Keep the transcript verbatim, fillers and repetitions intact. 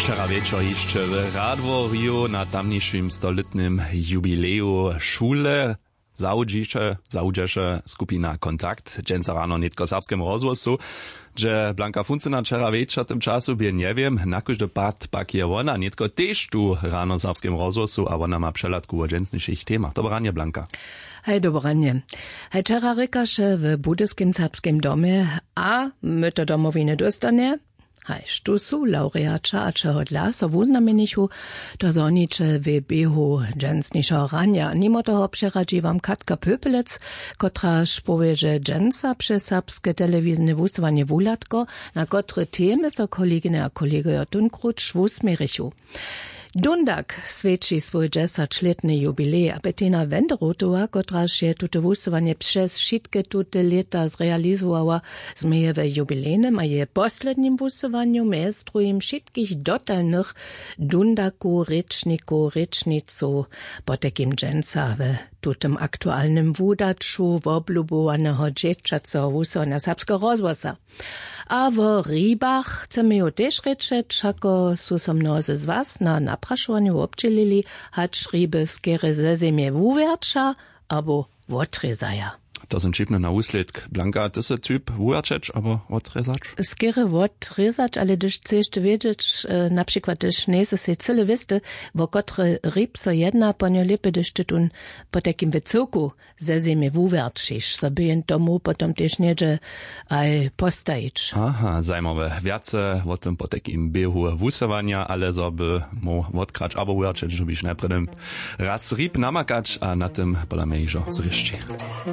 Wčera wječor hišće w Radworju na tamnišim stolětnym jubileju šule zawudźeše skupina Kontakt dźensa rano nětko w serbskem rozhłosu. Hdźe blanka funcyna wčera wječor w tym času bě, njewěm. Na kóždy pad pak je wona nětko tež tu rano w serbskem rozhłosu a wona ma přehladku wo dźensnišich temach. Dobre ranje, blanka. Haj, dobre ranje. Haj, wčera rěkaše w budyskim serbskem domje, a my to domowiny dóstanje. Haj, štó su lawreaća a čehodla so wuznamjenichu, to zhoniće w běhu dźensnišeho ranja. Nimo toho přeradźi wam katka pöpelec, kotraž powě, że dźensa přez serbske telewizne wusyłanje wuhladko, na kotre temy so koleginje a kolegojo tónkruć wusměrichu. Dundak swjeći swój dźesaćlětny jubilej a bettina wenderotowa, kotraž je tute wusyłanje přez wšitke tute lěta zrealizowała, změje w jubilejnym a jeje poslednim wusyłanju mjez druhim wšitkich dotalnych dundakow rěčnikow rěčnicow. Potajkim dźensa w tutym aktualnym wudaću woblubowaneho dźěćaceho wusyłanja serbskeho rozhłosa. A wo hribach chcemy ju tež rěčeć, wšako su so mnozy z was na naprašowanje wobdźělili, hač hriby skerje ze zemje wuwjerća abo wotrězaja. To sym ćipny na wuslědk. Blanka, ty sy typ wuwjerćeć abo wotrězać? Skerje wotrězać, ale hdyž chceš ty wědźeć, na přikład hdyž njejsy sej cyle wěsty, wo kotry hrib so jedna, po njo lěpje hdyž ty tón potajkim w cyłku ze zemje wuwjerćiš, zo by jen tomu potom tež něhdźe aj postajić. Aha, zajimawe. Wjace wo tym potajkim běhu wusyłanja, ale zo by móhł wotkrać abo wuwjerćeć, dyrbiš najprjedy raz hrib namakać a na tym pola mje hižo zrěšći.